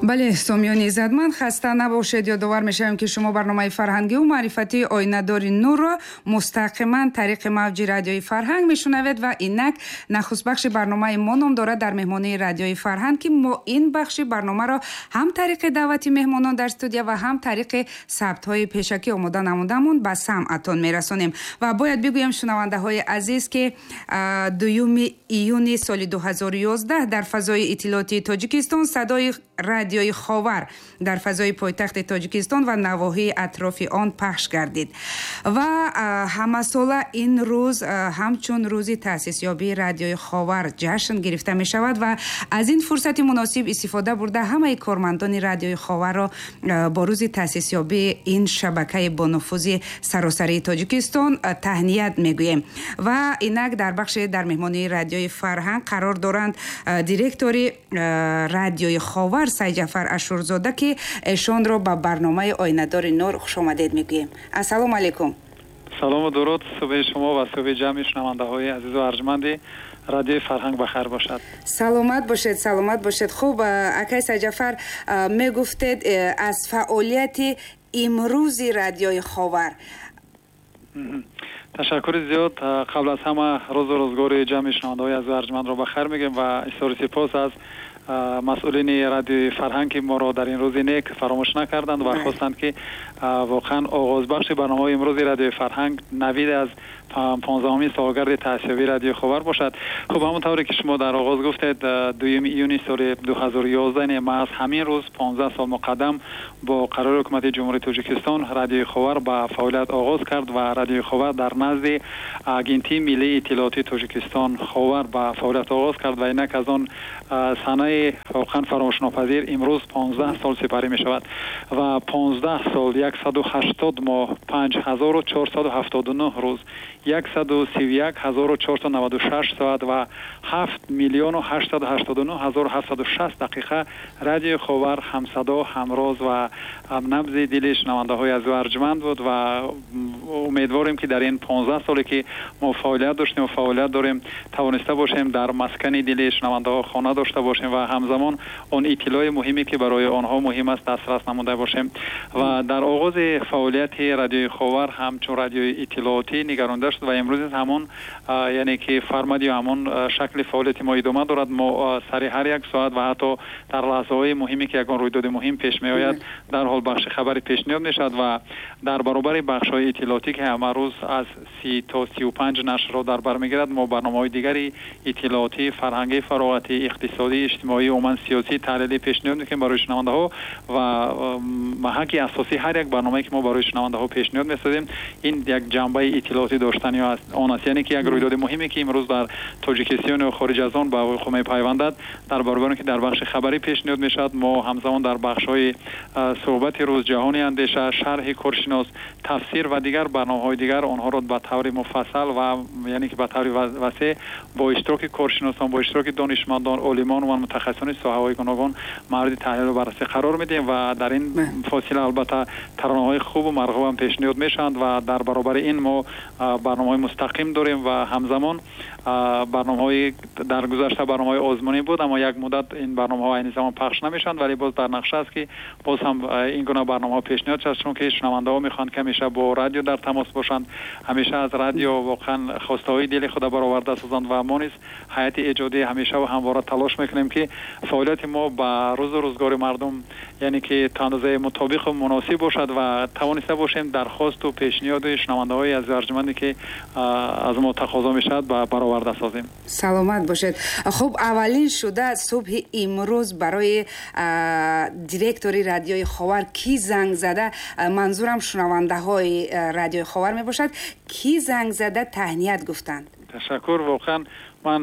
Бале, сомиёни иззатманд, хаста набошед. Ёдовар мешавем, ки шумо барномаи фарҳангиву маърифатии «Оинадори нурро» мустақиман тариқи мавҷи Радиои Фарҳанг мешунавед ва инак нахуст бахши барномаи мо ном дорад «Дар меҳмонии Радиои Фарҳанг», ки мо ин бахши барномаро ҳам тариқи даъвати меҳмонон дар студия ва ҳам тариқи сабтҳои пешакӣ омода намудамон ба самъатон мерасонем. Ва бояд бигӯем, шунавандаҳои азиз, ки 2 июни соли 2011 дар фазои иттилоотии Тоҷикистон садои Радиои Ховар дар фазои пойтахти Тоҷикистон ва навоҳии атрофи он пахш гардид ва ҳамасола ин рӯз ҳамчун рӯзи таъсисёбии Радиои Ховар ҷашн гирифта мешавад. Ва аз ин фурсати муносиб истифода бурда, ҳамаи кормандони Радиои Ховарро бо рӯзи таъсисёбии ин шабакаи бонуфузи саросарии Тоҷикистон таҳният мегӯем. Ва инак дар бахши «Дар меҳмонии Радиои Фарҳанг» қарор доранд директори Радиои Ховар Сайҷафар Ашурзода, ки эшонро ба барномаи «Оинадори нур» хушомадед мегӯем. Ассалому алайкум. Салому дуруд. Субҳи шумо ва субҳи ҷамъи шунавандаҳои азизу арҷманди Радиои Фарҳанг ба хайр бошад. Саломат бошед, саломат бошед. Хуб, акай Сайҷафар, мегуфтед аз фаъолияти имрӯзи Радиои Ховар. Ташаккури зиёд. Қабл аз ҳама рӯзу рӯзгори ҷамъи шунавандаҳои азизу арҷмандро ба хайр мегӯем ва изҳори сипос аз масъулини Радиои Фарҳанг, ки моро дар ин рӯзи нек фаромӯш накарданд ва хостанд, ки воқеан оғозбахши барномаҳои имрӯзи Радиои Фарҳанг навид аз 15-умин солгарди таъсисёбии Радиои Ховар бошад. Хуб, ҳамон тавре ки шумо дар оғоз гуфтед, 2 июни соли 2011, маҳз ҳамин рӯз, 15 сол муқаддам, бо қарори Ҳукумати Ҷумҳурии Тоҷикистон Радиои Ховар ба фаъолият оғоз кард ва Радиои Ховар дар назди Агентии миллии иттилоотии Тоҷикистон Ховар ба фаъолият оғоз кард. Ва инак аз он санаи воқеан фаромӯшнопазир имрӯз 15 сол сипарӣ мешавад. Ва 15 сол, 180 моҳ, 5479 рӯз, 131 496 соат ва 7 889 760 дақиқа Радиои Ховар ҳамсадо, ҳамроз ва ҳамнабзи дили шунавандаҳои азизу арҷманд буд. Ва умедворем, ки дар ин 15 соле, ки мо фаъолият доштем ва фаъолият дорем, тавониста бошем дар маскани дили шунавандаҳо хона дошта бошем ва ҳамзамон он иттилои муҳиме, ки барои онҳо муҳим аст, дастрас намуда бошем. Ва дар оғози фаъолияти Радиои Ховар ҳамчун радиои иттилоотӣ нигаронда шуд ва имрӯз низ ҳамон, яъне ки формат ё ҳамон шакли фаъолияти мо идома дорад. Мо сари ҳар як соат ва ҳатто дар лаҳзаҳои муҳиме, ки ягон рӯйдоди муҳим пеш меояд, дарҳол бахши хабарӣ пешниҳод мешавад. Ва дар баробари бахшҳои иттилоотӣ, ки ҳама рӯз аз 30 то 35 нашрро дар бар мегирад, мо барномаҳои дигари иттилоотӣ, фарҳангӣ, фароғатӣ, иқтисодӣ, иҷтимоӣ, умуман сиёсӣ, таҳлилӣ пешниҳод мекунем барои шунавандаҳо. Ва маҳаки асосии ҳар як барномае, ки мо барои шунавандаҳо пешниҳод месозем, ин як ҷанбаи иттилоотӣ доштани он аст. Яъне ки як рӯйдоди муҳиме, ки имрӯз дар Тоҷикистон ё хориҷ аз он ба вуқӯъ мепайвандад, дар баробари он ки дар бахши хабарӣ пешниҳод мешавад, мо ҳамзамон дар бахшҳои суҳбати рӯз, ҷаҳони андеша, шарҳи коршинос, тафсир ва дигар барномаҳои дигар онҳоро ба таври муфассал ва яъне ки ба таври васеъ бо иштироки коршиносон, бо иштироки донишмандон, олимон ва мутахассисони соҳаҳои гуногун мавриди таҳлилу баррасӣ қарор медиҳем. Ва дар ин фосила албатта таронаҳои хубу марғубам пешниҳод мешаванд. Ва дар баробари ин мо барномаҳои мустақим дорем ва ҳамзамон барномаҳои, дар гузашта барномаҳои озмунӣ буд, аммо як муддат ин барномаҳо айни замон пахш намешаванд, вале боз дар нақша аст, ки боз ҳам ин гуна барномаҳо пешниҳод шавад, чунки шунавандаҳо мехоҳанд, ки ҳамеша бо радио дар тамос бошанд, ҳамеша аз радио воқеан хостаҳои дили худа бароварда созанд. Ва мо низ, ҳайати эҷодӣ, ҳамеша ва ҳамвора талош мекунем, ки фаъолияти мо ба рӯзу рӯзгори мардум, яъне ки то андозаи мутобиқу муносиб бошад ва тавониста бошем дархосту пешниҳоди шунавандаҳои азизу арҷманде, ки аз мо тақозо мешавад, ба бароварда созем. Саломат бошед. Хуб, аввалин шуда субҳи имрӯз барои директори Радиои Ховар кӣ занг зада? Манзурам шунавандаҳои Радиои Ховар мебошад. Кӣ занг зада таҳният гуфтанд? Ташаккур. Воқеан ман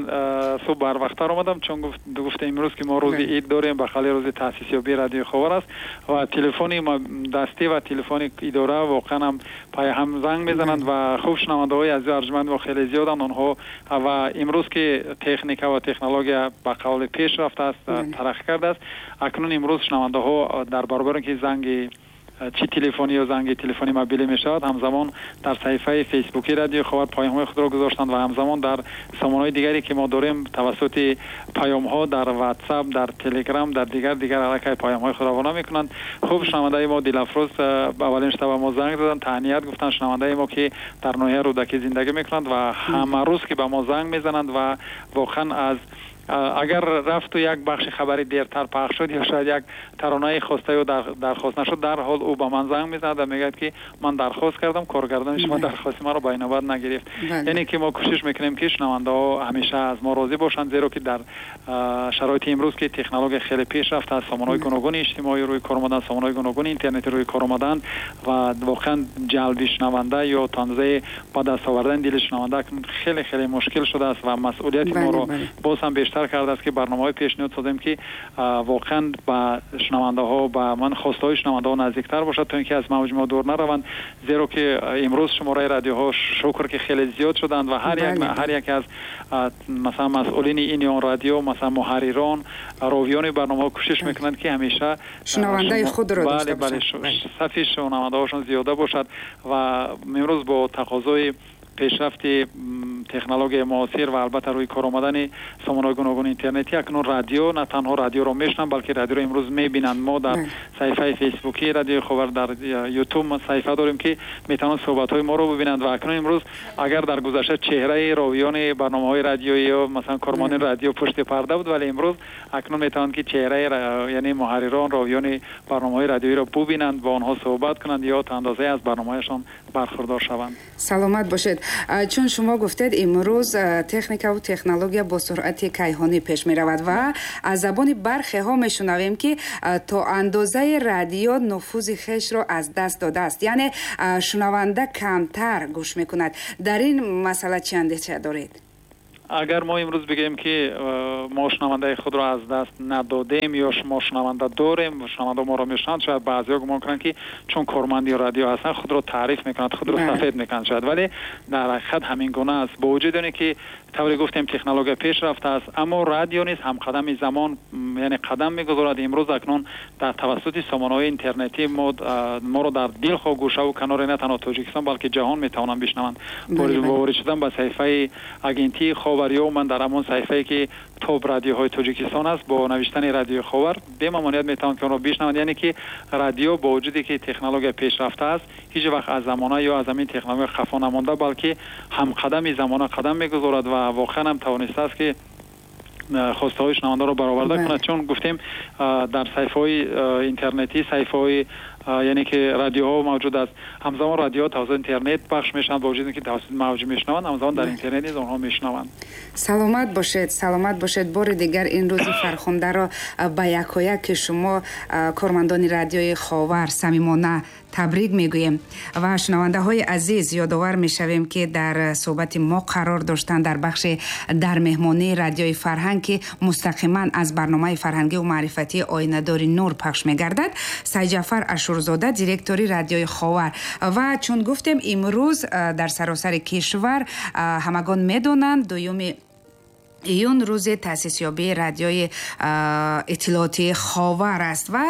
субҳ барвақттар омадам, чун гуфта имрӯз ки мо рӯзи ид дорем, ба қавли рӯзи таъсисёбии Радиои Ховар аст ва телефони дастӣ ва телефони идора воқеан ҳам пайҳам занг мезананд. Ва хуб, шунавандаҳои азизу арҷманд мо хеле зиёданд онҳо. Ва имрӯз ки техника ва технология ба қавли пеш рафтааст, тараққӣ кардааст, акнун имрӯз шунавандаҳо дар баробаре ки занги чӣ телефонӣ ё занги телефонӣ мобилӣ мешавад, ҳамзамон дар саҳифаи фейсбуки радиои Ховар паёмҳои худро гузоштанд ва ҳамзамон дар сомонаҳои дигаре ки мо дорем тавассути паёмҳо дар ватсап, дар телеграм, дар дигар аллакай паёмҳои худро равона мекунанд. Хуб, шунавандаи мо Дилафрӯз аввалин шуда ба мо занг заданд, таҳният гуфтанд. Шунавандаи мо ки дар ноҳияи Рӯдакӣ зиндагӣ мекунанд ва ҳама рӯз ки ба мо занг мезананд ва воқеан аз агар рафту як бахши хабари дертар пахш шуд ё шояд як таронаи хоста ё дархост нашуд, дарҳол ӯ ба ман занг мезанад ва мегӯяд ки ман дархост кардам, коргардони шумо дархости маро ба инобат нагирифт. Яъне ки мо кӯшиш мекунем ки шунавандаҳо ҳамеша аз мо розӣ бошанд, зеро ки дар шароити имрӯз ки технология хеле пеш рафтааст, сомонаҳои гуногуни иҷтимоӣ рӯи кор омаданд, сомонаҳои гуногуни интернетӣ рӯи кор омаданд ва воқеан ҷалби шунаванда ё то андозаи ба даст овардани дили шунаванда хеле хеле мушкил шудааст ва масъулияти моро боз ҳам бештар кардааст ки барномаҳои пешниҳод созем ки воқеан ба шунавандаҳо, ба ман хостаҳои шунавандаҳо наздиктар бошад, то ин ки аз мавҷи мо дур нараванд, зеро ки имрӯз шумораи радиоҳо шукр ки хеле зиёд шуданд ва ҳар яке аз масалан масъулини ин ё он радио, масалан муҳаррирон, ровиёни барномаҳо кӯшиш мекунанд ки ҳамеша шунавандаи худро дошта бошанд, сафи шунавандаҳошон зиёда бошад. Ва имрӯз бо тақозои пешрафти технологияи муосир ва албатта рӯи кор омадани сомонаҳои гуногуни интернетӣ, акнун радио на танҳо радиоро мешунаванд, балки радиоро имрӯз мебинанд. Мо дар саҳифаи фейсбукии радиои Ховар, дар ютуб саҳифа дорем ки метавонанд суҳбатҳои моро бибинанд. Ва акнун имрӯз агар дар гузашта чеҳраи ровиёни барномаҳои радиоӣ ё масалан кормандони радио пушти парда буд, вале имрӯз акнун метавонанд ки чеҳраи яъне муҳаррирон, ровиёни барномаҳои радиоиро бубинанд, бо онҳо суҳбат кунанд ё то андозае аз барномаҳояшон бархурдор шаванд. Саломат бошед. Чун шумо гуфтед, имрӯз техникаву технология бо суръати кайҳонӣ пеш меравад ва аз забони бархеҳо мешунавем ки то андозаи радио нуфузи хешро аз даст додааст, яъне шунаванда камтар гӯш мекунад. Дар ин масъала чӣ андеша доред? Агар мо имрӯз бигӯем ки мо шунавандаи худро аз даст надодем ё мо шунаванда дорем, шунаванда моро мешунаванд, шояд баъзеҳо гумон кунанд ки чун корманди радио ҳастанд худро таъриф мекунанд, худро сафед мекунанд шояд, вале дар ҳақиқат ҳамин гуна аст. Бо вуҷуди оне ки тавре гуфтем технология пеш рафтааст, аммо радио низ ҳамқадами замон, яъне қадам мегузорад. Имрӯз акнун дар тавассути сомонаҳои интернетӣ моро дар дилхоҳ гӯшаву канори на танҳо Тоҷикистон балки ҷаҳон метавонанд бишнаванд. Бо ворид шудан ба саҳифаи агентии Ховар ё ман дар ҳамон саҳифае ки топ радиоҳои Тоҷикистон аст, бо навиштани радиои Ховар бемамоният метавонанд ки онро бишнаванд. Яъне ки радио бо вуҷуде ки технология пешрафта аст, ҳеҷ вақт аз замона ё аз ҳамин технология хафо намонда, балки ҳамқадами замона қадам мегузорад ва воқеан ҳам тавонистааст ки хостаҳои шунавандаро бароварда кунад. Чун гуфтем дар саҳифаҳои интернетӣ, саҳифаҳои яъне ки радиоҳо мавҷуд аст, ҳамзамон радиоҳо тавассути интернет пахш мешаванд, бо вуҷуди ки тавассути мавҷ мешунаванд, ҳамзамон дар интернет низ онҳо мешунаванд. Саломат бошед, саломат бошед. Бори дигар ин рӯзи фархундаро ба якояк ки шумо кормандони радиои Ховар самимона табрик мегӯем ва шунавандаҳои азиз ёдовар мешавем ки дар суҳбати мо қарор доштанд дар бахши дар меҳмонии радиои фарҳанг ки мустақиман аз барномаи фарҳангию маърифатии Оинадори нур пахш мегардад, Сайҷафар Ашурзода, директори радиои Ховар. Ва чун гуфтем имрӯз дар саросари кишвар ҳамагон медонанд 2 июн рӯзи таъсисёбии радиои иттилоотии Ховар аст ва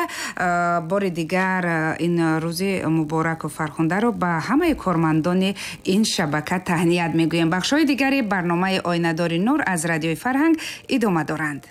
бори дигар ин рӯзи мубораку фархундаро ба ҳамаи кормандони ин шабака таҳният мегӯем. Бахшҳои дигари барномаи Оинадори нур аз радиои фарҳанг идома доранд.